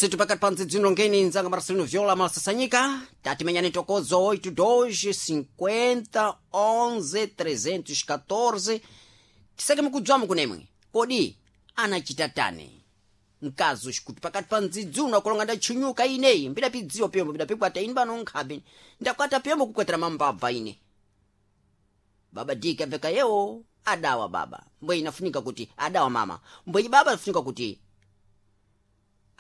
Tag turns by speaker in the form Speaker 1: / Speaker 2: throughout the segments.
Speaker 1: Basi tupakati pa mdzidzino ngeni nzanga Marcelino Viola malasasanyika tatimenyani tokozo 82 50 11 314 tisake mukudzwamo kunemwe kodi anachita tani mkazi uxikuti pakati pa mdzidzuno akulonga ndatchunyuka ineyi mbidapidziwa piyombo mbidapikwata ine pano nkhabe ndakwata piyombo kukwatira mambabva ine. Baba diki abveka yewo adawa baba mbwe inafunika kuti adawa mama mbwenyi baba afunika kuti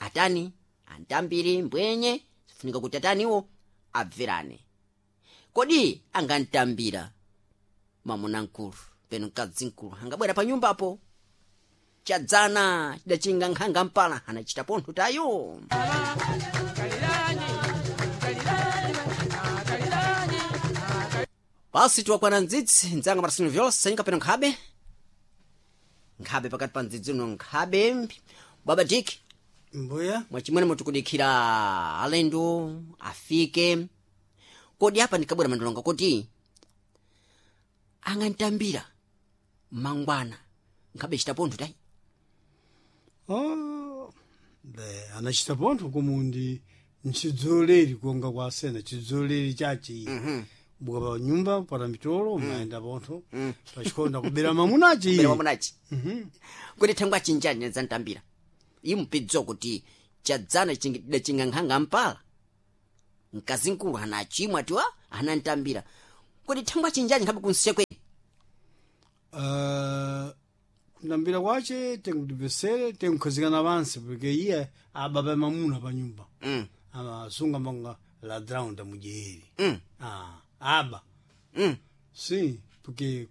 Speaker 1: atani antambiri mbwenye sifunika kuti ataniwo abverane. Kodi angantambira mamuna mkulu peno mkadzi mkulu angabwera pa nyumbapo chadzana chidachinga nkhanga mpala anachita pontho tayo. Basi tiwakwana mdzidzi mdzanga Marcelino Viola sanyika peno nkhabe nkhabe pakati pa mdzidzi uno nkhabe baba diki.
Speaker 2: Mbuya.
Speaker 1: Mwachimwene mutikudikhira alendo afike. Kodi apa ndikabwera mandilonga kuti angantambira mangwana nkhabe chita pontho tayi?
Speaker 2: Oh, be anachita pontho kumundi nchidzoleri kuonga kwa asena chidzoleri chachi. Buka pa nyumba para mitolo umayenda pontho pachikonda kubera mamunachi.
Speaker 1: Kubera mamunachi. Kodi thangwa achinjani nzantambira impidzo kuti chadzana chidachinga nkhanga mpala mkazi mkulu anachimwa tiwa anantambira kodi thangwa achinjani nkhabe kunsekwe?
Speaker 2: Kundambira kwache tenkutipesere tenkukhazikana pansi porque iye ababa mamuna pa nyumba. Amasunga manga ladrão da mulher. Ah, aba. Sim, porque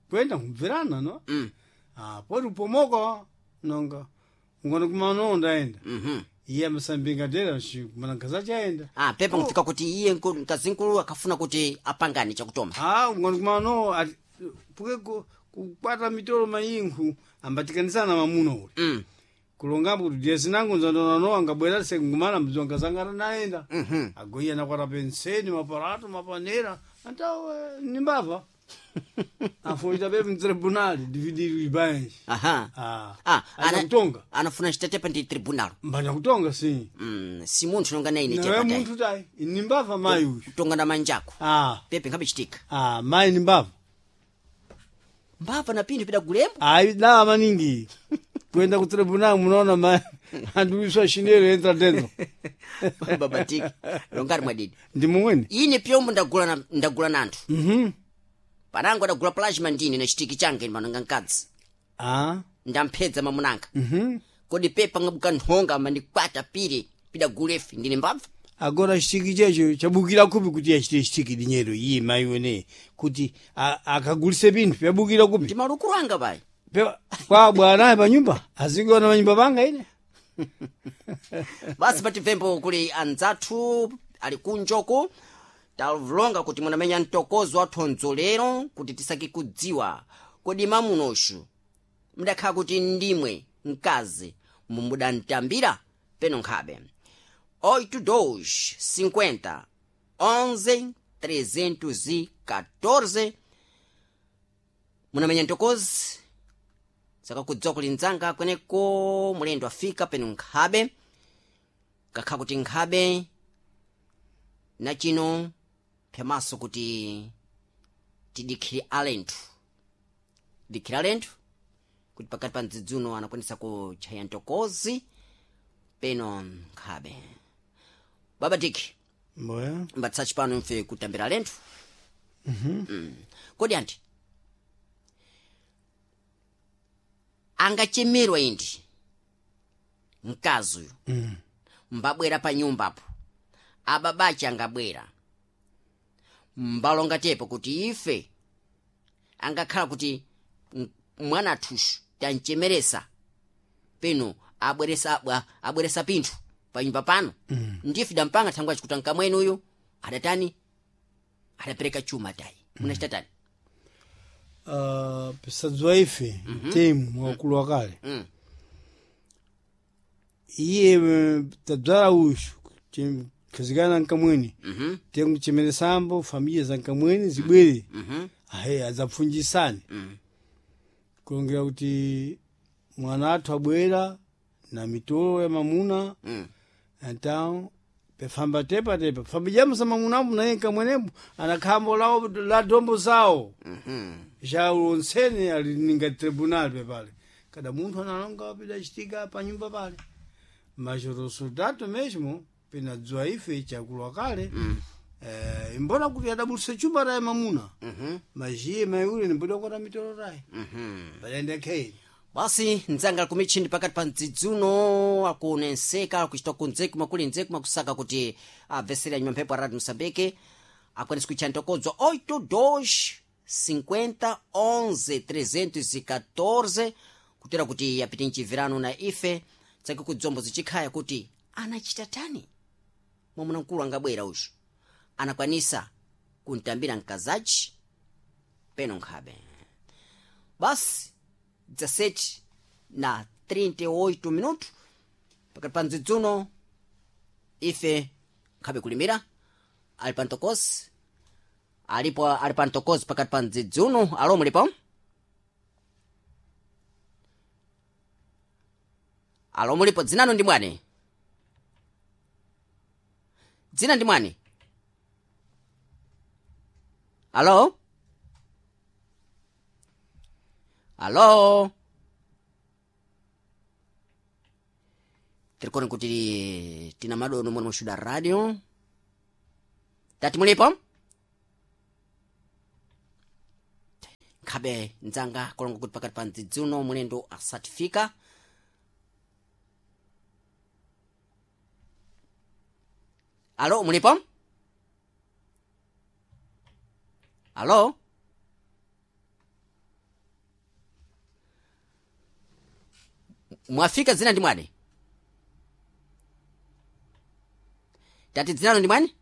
Speaker 2: kwenda kumverana, no? Ah, pode upomoka nonga. Ungona kumano ndaenda. Iye amasambinga dera kumana kazacha aenda.
Speaker 1: Ah, pepa nkufika kuti iye mkazi mkulu akafuna kuti apangane chakutoma.
Speaker 2: Ah, ungona kumano porque kukwata mitolo mayinkhu ambatikanizana mamuna uli. Kulongambo kuti diye sinango nzandona angabwera sekungumana mdzonga zangara naenda. Agoiya nakwata penseni maparato mapanera antawo nimbava. Afoita pepe mtribunali dividir os bens.
Speaker 1: Aha.
Speaker 2: Ah.
Speaker 1: Ah,
Speaker 2: Anakutonga.
Speaker 1: anafuna chitetepa ndi tribunal.
Speaker 2: Mbanya kutonga sim.
Speaker 1: Si munthu nonga naine
Speaker 2: Nawe
Speaker 1: chepa tayi.
Speaker 2: munthu tayi nimbava mayi uyu.
Speaker 1: Kutonga na manjako.
Speaker 2: Ah.
Speaker 1: Pepe nkhabe chitika.
Speaker 2: Ah, mayi nimbava.
Speaker 1: Mbava na pinthu pida gulembo.
Speaker 2: Ayi dawa maningi. Kuenda ku tribunal munaona mayi andiwiswa chinelo entra dentro.
Speaker 1: Baba tiki. Longari mwadidi.
Speaker 2: Ndi mumweni.
Speaker 1: Ine pyombo ndagula na ndagula nanthu. Panango adagula plasma ndine na chitiki change mananga mkadzi.
Speaker 2: Ah.
Speaker 1: Ndamphedza mamunanga. Kodi pepa ngabuka nthonga mandikwata pire pida gulefi ndine mbabva.
Speaker 2: Agora chitiki checho chabukira kupi kuti achite chitiki dinheiro iye mayi wene kuti akagulise pinthu pyabukira kupi.
Speaker 1: Ndi malukulu anga payi.
Speaker 2: Kwa bwanaye pa nyumba azingiona pa nyumba panga ine.
Speaker 1: Basi patibvembo kuli anzathu ali kunjoko talonga kuti munamenya mtokozo wathonzo lero kuti tisake kudziwa kodi mamunoxu mudakhala kuti ndimwe mkazi mumudantambira peno nkhabe 82 50 11 314 munamenya mtokozi sakakudziwa kuli mdzanga kweneko mulendo afika peno nkhabe kakha kuti nkhabe na chino phemaso kuti tidikhire alenthu dikhire alenthu kuti pakati pa mdzidzuno anakwanisa kutchaya mtokozi peno nkhabe baba diki.
Speaker 2: Mboya.
Speaker 1: Mbatsachi pano mfe kutambira alenthu. Kodi anti angachemerwa indi mkazi uyu mbabwera pa nyumbapo ababachi angabwera mbalonga tepo kuti ife angakhala kuti mwana athuxu tanchemeresa peno abweresa abweresa pinthu pa nyumba pano. Ndife dampanga thangwa chikuti nkamwene uyu adatani adapereka chuma tayi munachita tani?
Speaker 2: Pisadziwa ife mtemu wakulu wakale. Iye tadzala uxu khazikana nkamweni tenkuchemeresambo familia za nkamweni zibwere ahe adzapfunjisane kulongera kuti mwana athu abwera na mitolo ya mamuna. Então pefamba tepa tepa fambijamusa mamunamu naye kamwenepo anakhambo lao la dombo zawo. Já ulonsene ali ninga tribunal pepale cada munthu analonga pidachitika pa nyumba pale, mas o resultado mesmo pinadziwa ife chakulwa kale. Imbona kuti adabulisa chumba taye mamuna, mas iye mayi ule nimboda kukwata mitolo taye padaenda khei.
Speaker 1: Basi nzanga kumichindi pakati pa mdzidzuno akunenseka akuchita kunzeku makuli nzeku makusaka kuti abvesere anyuma mphepo a Radio Moçambique akwanise kuitcha ntokodzo 82 50 11 314 kutera kuti apite mchivirano na ife tsake kudzombo zichikhaya kuti anachita tani mwamuna mkulu angabwera uyu anakwanisa kuntambira mkazachi peno nkhabe. Basi 17 na 38 minuto pakati pa mdzidzuno ife nkhabe kulimira ali pa ntokosi alipo ali pa ntokosi pakati pa mdzidzuno. Alo, mulipo? Alo, mulipo? Dzinano ndi mwani? Dzina ndi mwani? Alo, alo, tirikoni kuti tina madono mwana mushuda radio tati mulipo nkhabe ndzanga kolonga kuti pakati pa mdzidzuno mulendo asatifika. Alo, mulipo? Alo, mwafika? Dzina ndi mwani? Tati dzinalo ndi mwani?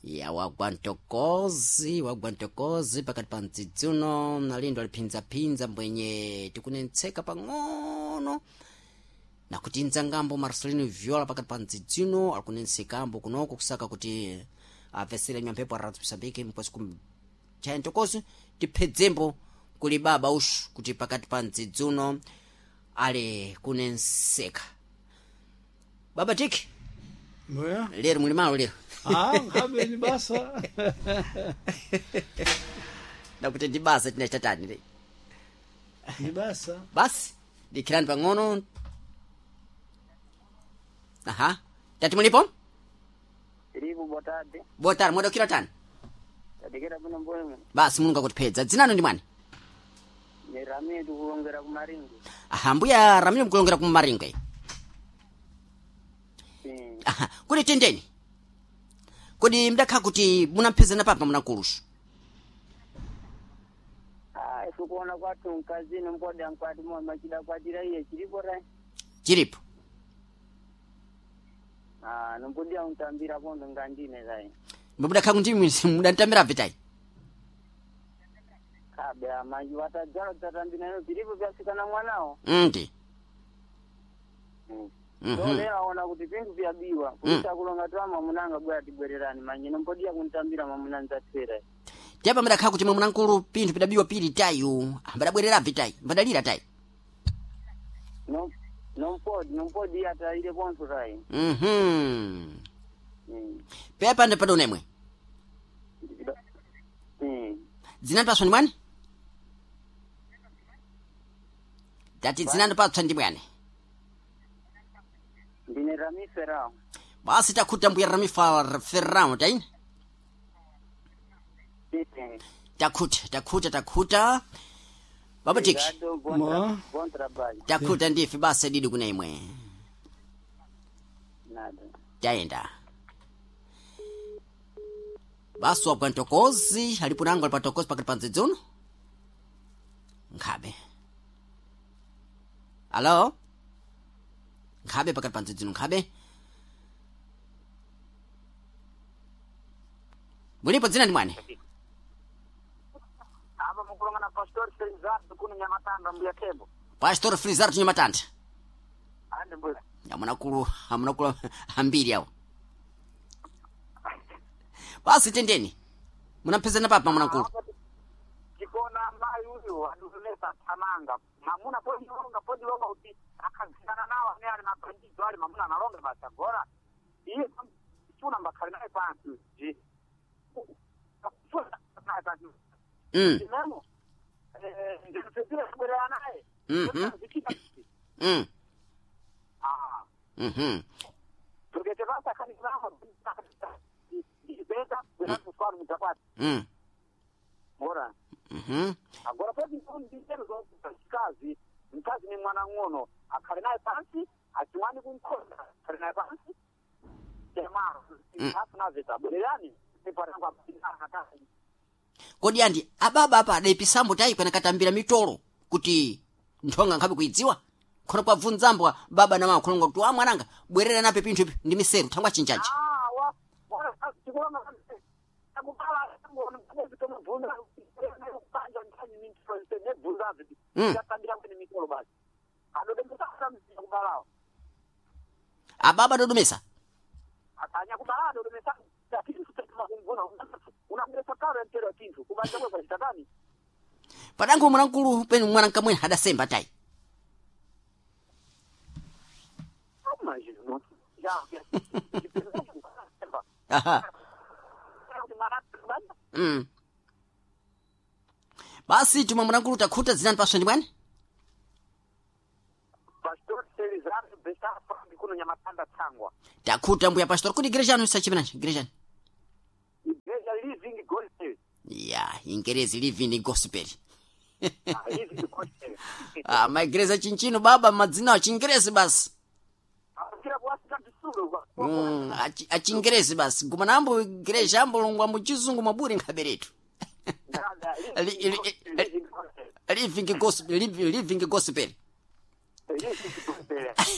Speaker 1: Ya wagwa ntokozi, wagwa ntokozi pakati pa mdzidzuno nalindo aliphinzaphinza mbwenye tikunentseka pang'ono nakuti ndzangambo Marcelino Viola pakati pa mdzidzuno alikunensekambo kunoko kusaka kuti apesere nyamphepo a Radio Moçambique mkwasi kumchaya ntokozi tiphedzembo kuli baba ushu kuti pakati pa mdzidzuno ali kunenseka. Baba tiki
Speaker 2: Mboya?
Speaker 1: Lero muli malo lero?
Speaker 2: Ah, nkhabe ni basa.
Speaker 1: Nakuti ndi basa tinachitatani le?
Speaker 2: Ni basa.
Speaker 1: Basi dikhirani pang'ono. Aha, tati mulipo?
Speaker 3: Tiripo, boa tarde.
Speaker 1: Boa tarde, mwadokira tani?
Speaker 3: Tadikira bwino mbwemwe.
Speaker 1: Basi mulungu akutipedza. Dzinano ndi mwani?
Speaker 3: Ni Ramiro tikulongera ku Maringo.
Speaker 1: Aha, mbuya Ramiro mkulongera ku Maringo.
Speaker 3: Sim.
Speaker 1: Aha, kuti tendeni kodi mdakhala kuti munamphezana papa munakulusu?
Speaker 3: Ah, ife kuona kwathu mkazini mpoda mkwati mwa machida kwatira iye chilipo ra.
Speaker 1: Chilipo.
Speaker 3: Ah, nompodia untambira kondo ngandine zai.
Speaker 1: Mudakhala kuti mudantambira vitayi?
Speaker 3: Kabe amanji watadzala tatambira nayo chilipo vyasikana mwanawo.
Speaker 1: Ndi.
Speaker 3: So lero aona kuti pinthu vyabiwa kuisa kulonga twa mamunanga bwera tibwererani manje nompodia kuntambira mamuna nzatsera.
Speaker 1: Tiyapa mudakhala kuti mwe munankulu pinthu pidabiwa pili tayu ambadabwerera vitayi mbadalira tayi?
Speaker 3: No nompodi nompodi atayire konso tayi.
Speaker 1: Pepa ndi padonemwe. Dzinani paswa ndi mwani? Tati dzinani patswa ndi mwani?
Speaker 3: Ndine Rami Ferrao.
Speaker 1: Basi takhuta mbuya Rami Ferrao taini.
Speaker 3: Sim.
Speaker 1: Takhuta, takhuta, takhuta baba tiki.
Speaker 3: Obrigado, bom,
Speaker 2: Mo.
Speaker 3: bom trabalho.
Speaker 1: Takhuta ndife basi didi kuna imwe.
Speaker 3: Nada.
Speaker 1: Tayenda basi wabwa ntokozi alipo nango ali patokozi pakati pa mdzidzuno nkhabe. Alo, nkhabe pakati pa mdzidzuno nkhabe. Mulipo? Dzina ndi mwani?
Speaker 3: Apa mukulonga na Pastor Felizardo kuno Nyamatanda mbuya Tembo.
Speaker 1: Pastor Frizardo Nyamatanda.
Speaker 3: Ande mbuya.
Speaker 1: Amunakulu, amunakulu ambiri awo. Basi tendeni munamphezana papa munakulu.
Speaker 3: Apa tikona mayi uyo adulesa thamanga mamuna podilonga podilonga kuti akhazikana nawo amene ali mabandido ali mamuna analonga basi agora iye chuna mbakhali naye pansi ji naye pansi Tinemo ndikutsedzera kubwerera naye zichita Porque basta ndibeta bwera mutakwati Bora. Agora pode ndizero mkazi mkazi ni mwana ng'ono akhale naye pansi achiwani kumkhonda akhale naye pansi temaro afunaveta bwererani
Speaker 1: Kodi andi ababa apa adaipisambo tayi kwena katambira mitolo kuti nthonga nkhabe kuidziwa khono kwabvunzambwa baba na mama khononga kuti wa mwananga bwerera nape pinthu ipi ndi miseru thangwa chinjaji. Ababa dodomesa padango mwanamkulu penu mwanankamwene adasemba tayi. Aha. Basi tumwe mwanamkulu takhuta zinani paswe ndi bwani.
Speaker 3: Pastor Selizardo Bessafa kuno Nyamatanda Tsangwa.
Speaker 1: Takhuta mbuya pastor kuti igreja anu isachipenanji igreja anu.
Speaker 3: Igreja Living Gospel.
Speaker 1: Ya ingerezi living gospel.
Speaker 3: Ah, Living Gospel.
Speaker 1: Ah, maigreja chinchino baba madzina achingerezi basi.
Speaker 3: Akira kuwasika tisulo.
Speaker 1: Achingerezi basi gumanambo igreja ambolongwa muchizungu mwaburi nkhaberetu.
Speaker 3: Living Gospel.
Speaker 1: Living gospel, living gospel.
Speaker 3: Living Gospel.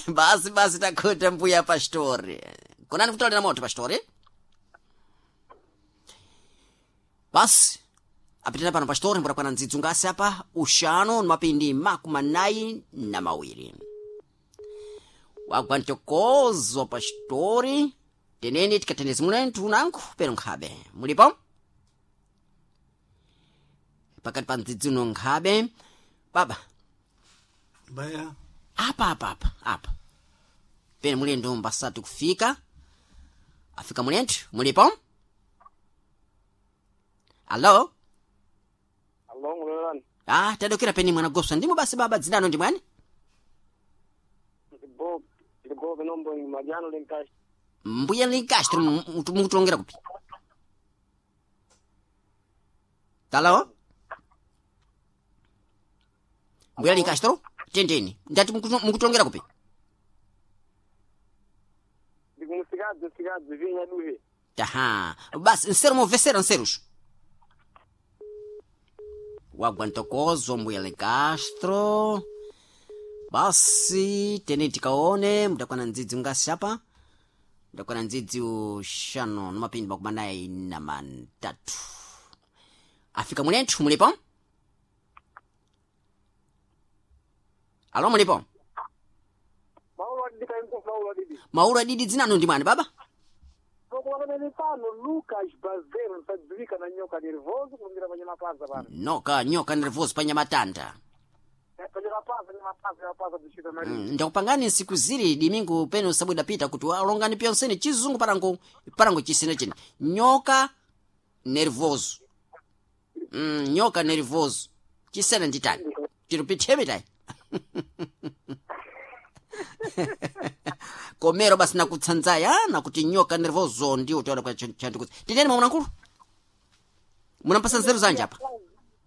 Speaker 1: Basi basi takhuta mbuya pastori. Konani kutolera moto pastori? Basi apitana pano pastori mburakwana ndzidzu ngasi apa uxanu ni mapindi 42. Wagwa ntokozo pastori teneni tikatendezi munenthu unanku pero nkhabe mulipo pakati pa ndzidzuno nkhabe baba.
Speaker 2: Baya.
Speaker 1: Apa apa apa apa pene mulendo mbasati kufika afika mulenthu mulipo alo.
Speaker 3: Allo ngulelani.
Speaker 1: Ah, tadokera peni mwana goswa ndimo basi baba dzinano ndi mwani.
Speaker 3: Ndibo ndibo nombo majano lenkashi.
Speaker 1: Mbuya linkastro mukutulongera kupi talo mbuya linkastro tendeni ndati mukutulongera kupi.
Speaker 3: Ndikumusikazi musikazi vinya duhe.
Speaker 1: Taha basi nsero movesera nseruxo wagwa ntokozo mbuya Lencastro basi tene tikaone mudakwana ndzidzi ngasi apa mudakwana ndzidzi uxanu ni mapindi 43 afika mulenthu mulipo alo mulipo.
Speaker 3: Maulo adidi kaimko maulo adidi.
Speaker 1: Mauro adidi dzinano ndi mwani baba.
Speaker 3: Pokuwakana pano Lucas Bazero nsadziwika na nyoka nervoso kulungira panyamapaza pano.
Speaker 1: Noka nyoka nervoso panyamatanda.
Speaker 3: Panyamapaza nyamapaza nyamapaza tichita mali.
Speaker 1: Ndakupangani nsiku zili dimingu pene usabwida pita kuti alongani pyonsene chizungu parango parango chisene chene nyoka nervoso. Nyoka nervoso chisene nditani chirupitheme tayi komero basi nakutsanzaya nakuti nyoka nervoso ndiwo taona kwa chandikuti titeni mwamunankulu munampasa nzeru zanje apa.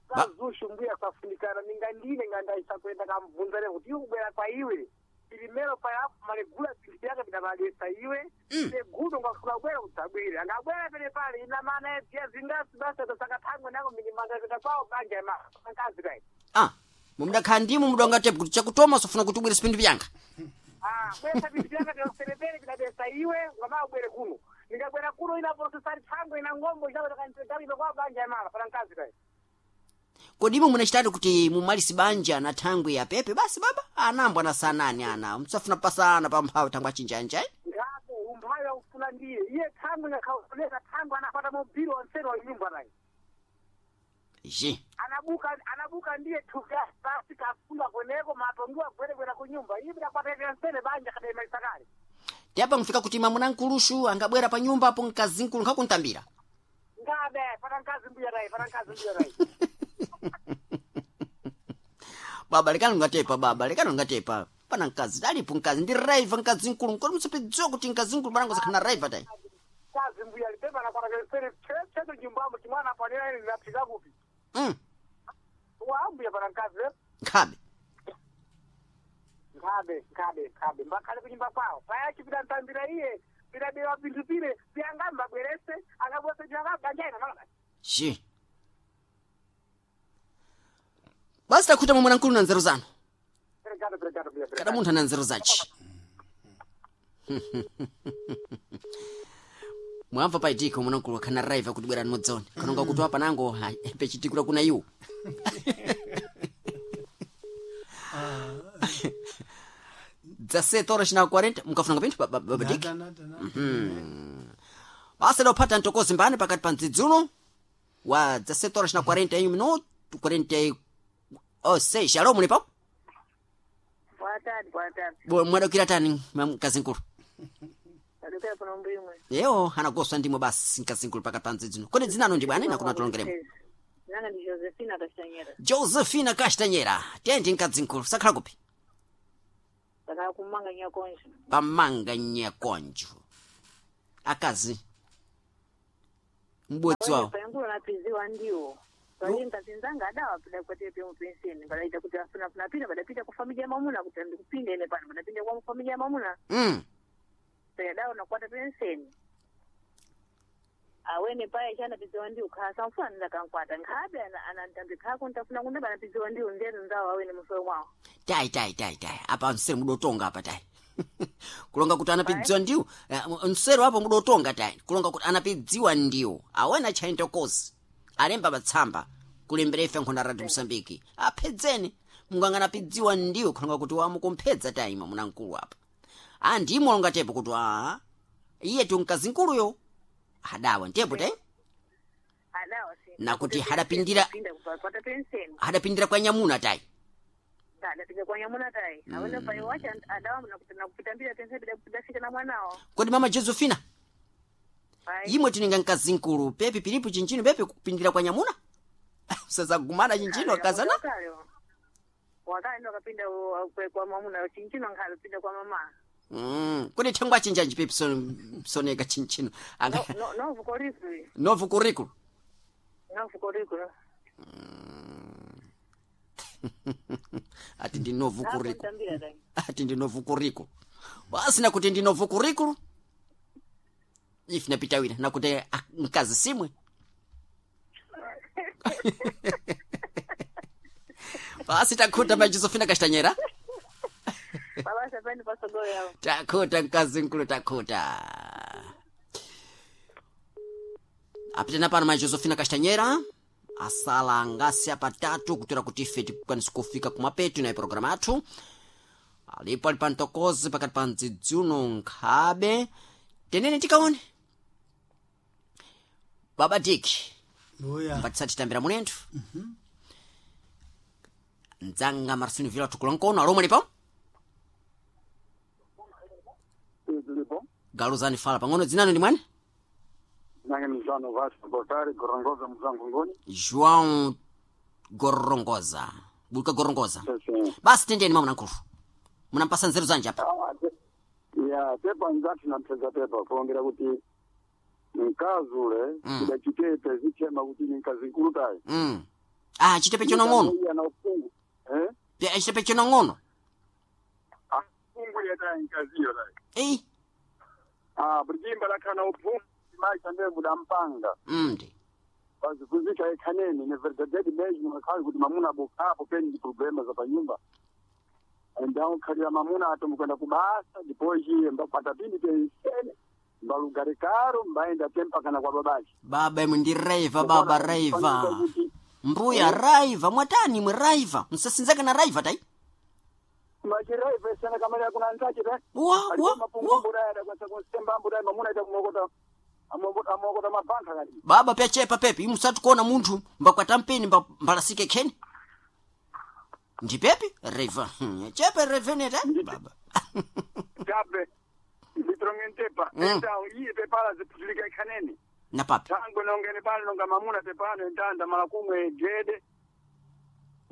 Speaker 3: Kazushu mbuya kafunikana ningandine ngandaisa kuenda kamubvunza kuti iwe kubwera kwa iwe ilimero payapo malegula zinthu yake bidamagesa iwe segudo ngafuna kubwera udzabwere angabwera pene pale ina mana edziya zingasi basa tasakathangwe nako milimangapita kwawo banja mankazi kai.
Speaker 1: Ah, mumudakhala ndimu mudonga tepu kuti chakutoma sofuna kuti ubwere sipindu vyanga.
Speaker 3: Ah, bwesa vintu vyanga vyakupelepele bidabesa iwe ngama ubwere kuno ningabwera kuno ina processari thangwe ina ngombo inakanitagalibe kwawo banja yamala pana nkazi kai.
Speaker 1: Kodi imwe munachitatu kuti mumalisi banja na thangwe ya pepe basi baba anambwa na sanani ana msafuna pasana pa mphawi thangwe achinjanja eh?
Speaker 3: Ngapo umphawi akufuna ndiye iye thangwe ngakhauleka thangwe anapata mobili wanseri wa nyumba naye.
Speaker 1: Je.
Speaker 3: Anabuka ndiye thuka basi kafunda kweneko matongiwa gwere kwera kunyumba iye bidakwata pensene banja kadema isakale.
Speaker 1: Teapa mfika kuti mamuna nkulushu angabwera pa nyumba apo mkazi nkulu nkhakuntambira.
Speaker 3: Ngabe pana nkazi mbuya rai, pana nkazi mbuya rai.
Speaker 1: Baba lekani ungatepa baba lekani ungatepa. Pana mkazi alipo mkazi ndi raiva mkazi nkulu nkoti musapedziwa kuti mkazi nkulu panango zakhana raiva tai.
Speaker 3: Kazi mbuya lipepa na kwata pensene cheto nyumbamo chimwana panera ine ndinaphika kupi. Wa mbuya pana nkazi eh?
Speaker 1: Nkhabe.
Speaker 3: Nkhabe nkhabe nkhabe mbakhale kunyumba kwawo paya chipita ntambira iye pidabewa pinthu pile piyangamba bwerese angabwese changabanja ina malaba.
Speaker 1: Je. Basi takhuta mamuna nkulu na nzeru zanu.
Speaker 3: Obrigado, obrigado, mbuya.
Speaker 1: Kada munthu ana nzeru zace. Mwamva paitiko mwana nkulu akhana raiva kuti bwerani mudzone. Kanonga kuti apa nango pechitikula kuna iwo. Dza 7 horas na 40 mukafuna pinthu babadiki.
Speaker 2: Nada, nada, nada.
Speaker 1: Basi lopata ntokozi mbani pakati pa mdzidzulo wa dza 7 horas na 41 minuto 46 alo mulipo?
Speaker 4: Boa tarde, boa tarde.
Speaker 1: Mwadokira tani mkazi nkulu.
Speaker 4: Adokera pano mbimwe.
Speaker 1: Yeo anagoswa ndimwe basi mkazi nkulu pakati pa mdzidzulo. Kodi dzinano ndi bwana nakuna tulongeremo.
Speaker 4: Nanga ndi Josefina Kastanyera.
Speaker 1: Josefina Kastanyera tendi mkazi nkulu sakhala kupi?
Speaker 4: Saka kumanga nyakonjo.
Speaker 1: Pamanga nyakonjo. Akazi mbodzi wawo.
Speaker 4: Payangulo napiziwa ndiwo. Pali nkazinzanga adawa pida kwate pe mupenseni. Badaita kuti afuna funa pita badapita kwa familia mamuna kuti ndikupinda ine pano badapinda kwa familia mamuna. Paya dawa nakwata penseni. Awene paya chana piziwa ndiwo khasa mfuna ndakankwata nkhabe anantambi khako ntafuna kunda banapiziwa ndiwo nzeru nzawo awene musoro mwawo.
Speaker 1: Tai tai tai tai apa msero mudotonga apa tai. Kulonga kuti anapidziwa ndiwo msero apo mudotonga tai. Kulonga kuti anapidziwa ndiwo awena chaintokozi alemba patsamba kulembera ife nkhonda radio Mosambiki aphedzeni munganga anapidziwa ndiwo kulonga kuti wamukumphedza tai mwamuna mkulu apa. A ndimo longa tepo kuti a iye tu mkazi nkuluyo adawa ntepo tai.
Speaker 4: Adawa si.
Speaker 1: Nakuti hadapindira-
Speaker 4: Pinda kupata penseni.
Speaker 1: Adapindira kwa nyamuna tai.
Speaker 4: Adapinda kwa nyamuna tai. Awene payo wacha adawa nakupitambira penseni pida kupidafika na mwanawo.
Speaker 1: Kodi mama Josefina
Speaker 4: Ai.
Speaker 1: imwe tininga mkazi nkulu pepi pilipo chinchino pepi kupindira kwa nyamuna usazagumana chinchino akazana
Speaker 4: Wakale ndo akapinda kwa mamuna chinchino nkhale pinda kwa mama.
Speaker 1: Kodi thangwa chinjanji pepi soneka chinchino anga
Speaker 4: No no vukorikulu.
Speaker 1: novo curriculum
Speaker 4: No vukorikulu.
Speaker 1: Ati ndi novo curriculum
Speaker 4: Tambira tai.
Speaker 1: Ati ndi novo curriculum basi nakuti ndi novo curriculum ife napitawira nakuti mkazi simwe basi takhuta mai Josefina Kastanyera.
Speaker 4: Baba sapeni pasogolo yao.
Speaker 1: Takhuta mkazi nkulu takhuta. Apitana pano mai Josefina Kastanyera asala ngasi apatatu kutora kuti ife tikwanise kufika kumapetu na programu athu. Alipo ali pantokozi pakati pa mdzidzuno nkhabe tenene tikaone. Baba Dick
Speaker 2: Mbuya.
Speaker 1: mbatisatitambira mulenthu. Mdzanga Marcino Vila tukula nkono alomwe lipo?
Speaker 5: Zilipo.
Speaker 1: Galuzani fala pang'ono dzinano ndi mwani?
Speaker 5: Nange mzano Vasco Botari Gorongoza mzangu ngoni.
Speaker 1: João Gorongoza. Buluka Gorongoza.
Speaker 5: Sese.
Speaker 1: Basi tendeni mwamuna nkulu. Munampasa nzeru zanje apa.
Speaker 5: Ya tepa nzati na mpeza tepa kuongera kuti mkazi ule kidachitepe zichema kuti ni mkazi nkulu tayi.
Speaker 1: Ah, chitepe chonong'ono.
Speaker 5: Iye ana ufungu. Eh?
Speaker 1: Chitepe chonong'ono.
Speaker 5: Ufungu yetayi mkaziyo tayi.
Speaker 1: Ei.
Speaker 5: Ah, bulijimba lakhana ufungu maisha ndiye mudampanga.
Speaker 1: Ndi.
Speaker 5: Bazikuzika ekhaneni ne verdaderi mesmo akhazi kuti mamuna bokhapo peni ndi problema za panyumba. Então khalira mamuna atomkwenda kubasa depois mbakwata pini pensene mbalugare karo mbaenda tempa kana kwa babaji.
Speaker 1: Baba imwe ndi raiva baba raiva. Mbuya raiva mwatani imwe raiva. Msasinzaka na raiva tai.
Speaker 5: Machiraiva esana kamari akuna ntache ta.
Speaker 1: Wa wa wa.
Speaker 5: Mapungumbu daya kwasa kusemba mbu daya mamuna ita kumokota. Amokota mabanka kati.
Speaker 1: Baba pyachepa pepi imusati kuona munthu mbakwata mpeni mbalasike kheni. Ndipepi reva. Chepe reveneta baba.
Speaker 5: Tabe. Nditrongentepa. Então iye pepala ziputulika ikhaneni.
Speaker 1: Na papi.
Speaker 5: Tango nongene pano nonga mamuna pepano entanda mala kumwe gede.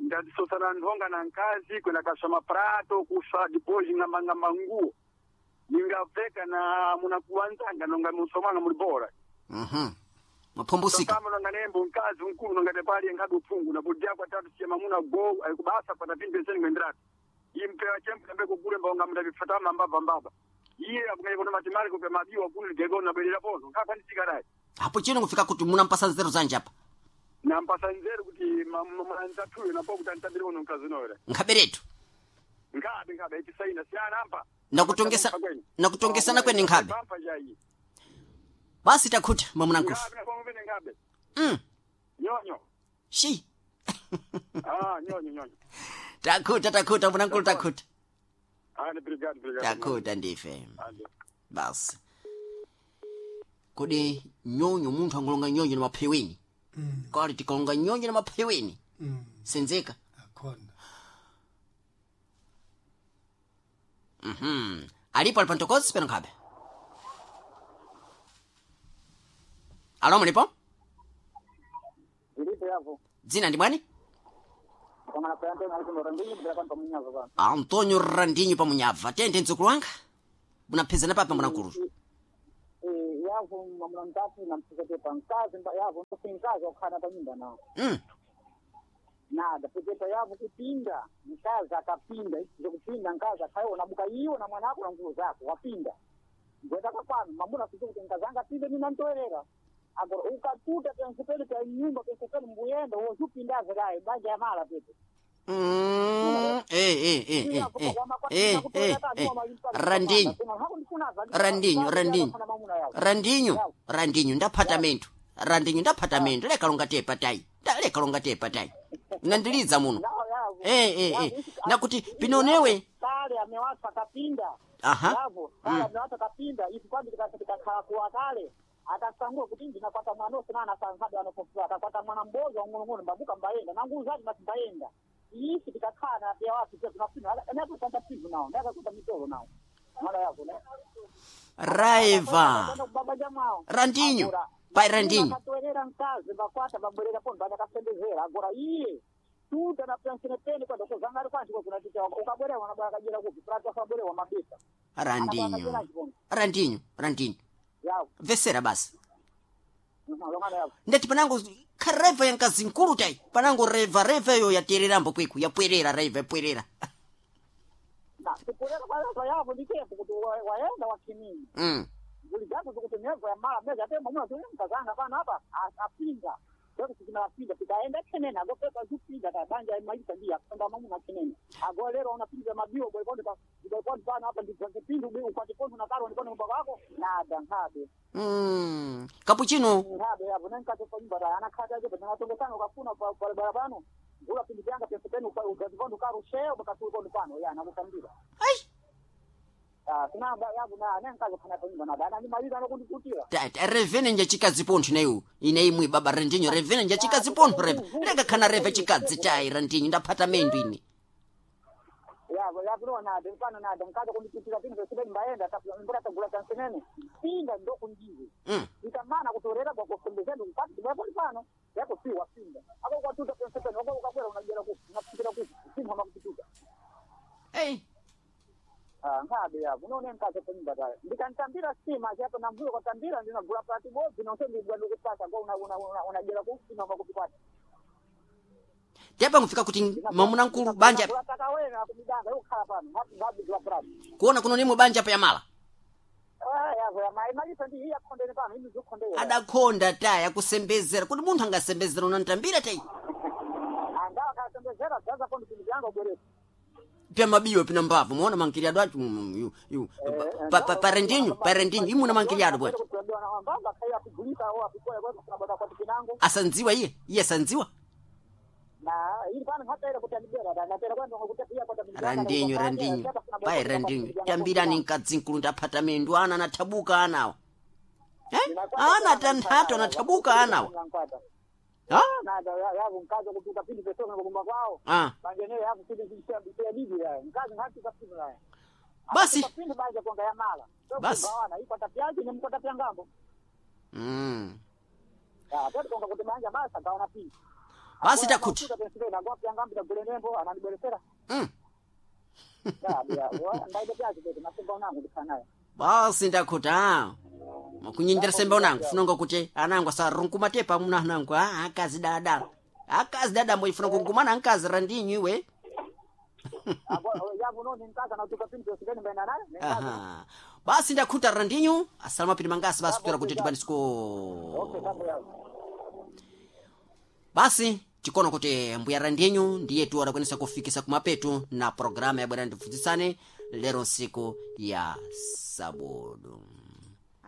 Speaker 5: Ndadisosana nthonga na nkazi kwenda kaswa maprato kuswa depois ng'ambang'amba nguo. Ningaveka na munakuwanzanga nonga musomanga muli bora.
Speaker 1: Maphombosika.
Speaker 5: Kama nonga nembo nkazi mkulu nonga tepali enkabe uphungu na budya kwa tatu siya mamuna go ayikubasa pata pimbe seni ngwendrati. Impewa chembe mbe kugule mbonga mndabifata mbaba mbaba. Iye akungaye kono matimali kupe mabiwa kuni gego na belera pono nkakwanisika naye.
Speaker 1: Hapo chino kufika kuti munampasa nzeru zanje apa.
Speaker 5: Nampasa nzeru kuti manzathuyo napo kuti antambire uno mkazi unowera.
Speaker 1: Nkhaberetu.
Speaker 5: Nkhabe nkhabe itisaina siyana ampa.
Speaker 1: Nakutongesa nakutongesana kwene nkhabe.
Speaker 5: Pampa jayi.
Speaker 1: Basi takhuta mwamuna nkufu.
Speaker 5: Nkhabe napo nkhabe. Nyonyo.
Speaker 1: Shi.
Speaker 5: Ah nyonyo nyonyo.
Speaker 1: Takhuta takhuta mwamuna nkulu takhuta.
Speaker 5: Ah ni brigade brigade.
Speaker 1: Takhuta ndife. Basi. Kodi nyonyo munthu angolonga nyonyo na mapheweni. Kali tikalonga nyonyo na mapheweni. Senzeka.
Speaker 2: Akhona.
Speaker 1: Alipo alipantokozi peno nkhabe. Alo mulipo?
Speaker 3: Ndilipo yapo.
Speaker 1: Dzina ndi mwani?
Speaker 3: Kama kwa Antonio Alfonso Randinho bila kwa pamunyaza bana.
Speaker 1: Antonio Randinho pamunyabva. Tende mdzukulu wanga. Munaphezana papa mwanakulu.
Speaker 3: Eh yapo mamuna mtatu na mtete pankazi yapo mfinkazi okhana pa nyumba nao. Nada peteta yapo kupinda mkazi akapinda kupinda mkazi akayo nabuka iwo na mwana wako na nguo zako wapinda. Ngwenda kapano mamuna sisi kuti nkazanga pinde nina ntoerera. Agora ukatuta pensepele pa nyumba pensepele mbuyenda wozupindaza kaye banja yamala pete.
Speaker 1: Randinho Randinho Randinho Randinho Randinho ndaphata menthu Randinho ndaphata menthu leka longa tepa tayi leka longa tepa tayi nandiliza muno nakuti pinonewe
Speaker 3: kale amewatu akapinda
Speaker 1: aha
Speaker 3: kale amewatu akapinda ifi kwambi tikakhala kuwa kale akasangua kuti ndinakwata mwana osinana asankhadi anopofula akakwata mwana mbozi wang'onong'ono mbabuka mbayenda nanguzaji mati mbayenda isi tikakhala pia watu pia tunapinda ndakutanda pivu nao ndakakuta mitolo nao mwana yako ne
Speaker 1: raiva Randinho pai Randinho
Speaker 3: akatoerera mkazi bakwata babwerera pondo akasembezera agora iye tuta na pensene pene kwa doko zangari kwanti kwa kuna ticha ukabwerera wanabara kajera kupi prata akabwerera mabisa
Speaker 1: Randinho Randinho Randinho vesera basi ndati panango khareva yankazi nkulu tai panango reva reva iyo yatererambo kwiku yapwerera reva yapwerera
Speaker 3: kupwerera kwa reva yavo nditepo kuti waenda wakinini nguli zako zikuti nevo yamala meza te mamuna tuli mkazanga pano apa apinga ndekuti tinapinda tikaenda kenene agopepa zupinda kabanja maita ndiya kwenda mamuna kenene ago lero unapinda mabio boykondi pa boykondi pano apa ndipindu ukwati pondo na karo ndikono mbako wako nada nkhabe
Speaker 1: kapuchino
Speaker 3: nkhabe yapo nenkati pa nyumba ta anakhati aje panatongesana ukafuna barabara pano ngula pindi pyanga pempeni ukazipondo karo sheo bakatukondo pano ya nakutambira
Speaker 1: ai
Speaker 3: sinamba yapo na nenkazi khana pa nyumba nada anandimaliza anokundikutira
Speaker 1: revene njachikadzi pontho ineyu ine imwe baba Randinho revene njachikadzi pontho reve leka khana reve chikadzi tayi Randinho ndaphata mendu ine
Speaker 3: yavo yakuno nade pano nade mkaza kundipitira pindu pesipeni mbaenda mbura tagula tansenene pinda ndokundiwe ikamana kutorera kwakufundizeni mkati tibwepoli pano yako si wapinda ako kwatuta pensepeni wako ukakwera unajera kufu unapitira kufu simha makupituka
Speaker 1: ei
Speaker 3: nkhabe yapo unoone mkazi panyumba tayo ndikantambira stima chapo namvuyo kwatambira ndinagula pati bodzi nonse ndibwadukupata kwa unajera kufu sima makupipata
Speaker 1: tepa ngufika kuti mwamuna nkulu banja
Speaker 3: takawena kumidanga yokhala pano ngabigula prati
Speaker 1: kuona kuno nimwe banja pa yamala
Speaker 3: yazo yamali ndi iya khondene pano imi zukhondera
Speaker 1: adakhonda tayi akusembezera kuti munthu angasembezera unantambira tayi
Speaker 3: angawa akasembezera zaza kondi pindu vyanga ubweresa
Speaker 1: pya mabiwa pina mbavu muona mankiliado acho parendinho parendinho imuna mankiliado bwana
Speaker 3: mbamba khaiya kugulika au apikoya kwa kuna kwa kinango
Speaker 1: asandziwa iye iye asandziwa
Speaker 3: na ili pano hatera kuti andibera natera kwendo kuti iya kwa
Speaker 1: Randinho Randinho pai Randinho tambirani mkadzi nkulu ndaphata mendu ana anathabuka anawa Eh? Ana tanthatu anathabuka anawa. Ha?
Speaker 3: Nada yavu mkazi kutuka pindi pesona kukumba kwao.
Speaker 1: Ah.
Speaker 3: Banje ne yavu pindi kisha bibi ya. Mkazi hatu kapindi ya.
Speaker 1: Basi.
Speaker 3: Pindi banje konga ya mala.
Speaker 1: Basi.
Speaker 3: Wana iko tapiaje ni mko tapia ngambo. Ya, tatu konga kuti banja basa kaona pindi.
Speaker 1: Basi takuti.
Speaker 3: Na kwa pia ngambo tagule nembo ananiberesera. Ya, ya, ndaide piaje kuti masimba unangu ndifanayo.
Speaker 1: Basi ndakuta. Makunyindira sembe unangu funonga kuti anangu asarunku tepa muna anangu ah akazi dada. Akazi dada mbo ifuna kugumana nkazi randinyu iwe.
Speaker 3: Yavu noni mkazi anatuka pindi pesikeni mbena naye.
Speaker 1: Aha. Basi ndakuta randinyu asalama pili mangasi basi kutora kuti tibani siku.
Speaker 3: Okay, sabu yavu.
Speaker 1: Basi tikono kuti mbuya randinyu ndiye tu adakwanisa kufikisa kumapetu na programa ya bwana ndifunzisane lero nsiku ya sabudu.